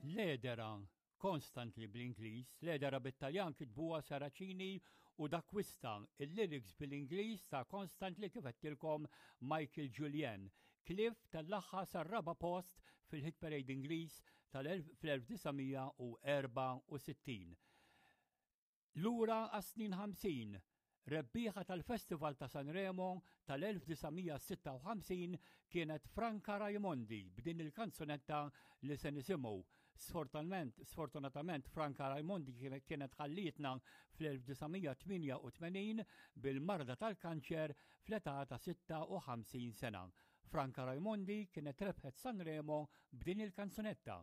L-Edera, Constantly bl-Ingliż, l-Edera bit-Taljan kitbuha Saracini u D'Acquista, il-lyrics bil-Ingliż ta' Constantly kif għedtilkom Michael Julien. Cliff tellagħha sar-raba' post fil-Hit Parade Ingliż tal-1964. Lura għas-snin 50, rebbieħa tal-Festival ta' Sanremo tal-1956 kienet Franca Raimondi b'din il-kanzunetta li se nisimgħu. Sfortunatament, sfortunatament Franca Raimondi kienet ħallietna fl-1988 bil-marda tal-kanċer fl-età ta' 56 sena. Franca Raimondi kienet rebħet Sanremo b'din il-kanzunetta.